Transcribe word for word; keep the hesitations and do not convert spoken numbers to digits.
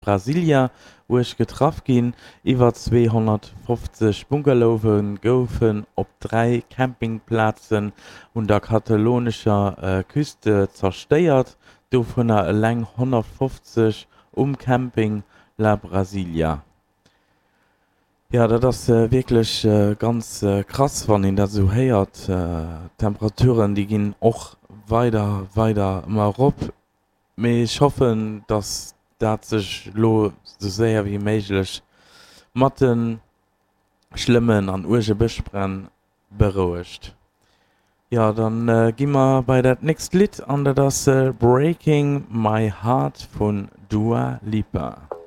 Brasília uerg getraff ginn. Iwwer zweehonnertfofzeg Bungalowe goufen op dräi Campingplazen un der katalonescher Küste zerstéiert, dovunner eleng honnertfofzeg um Camping La Brasília. Jo, dat ass wierklech ganz krass, wann een dat esou héiert. D'Temperaturen, déi ginn och weider, weider ëmmer erop. Mee ech hoffen, dass dat sech elo sou séier wéi méiglech mat de schlëmmen an uerge Bëschbränn berouegt. Jo, dann gi mer bei dat nächst Lidd an dat ass Breaking My Heart vun Dua Lipa.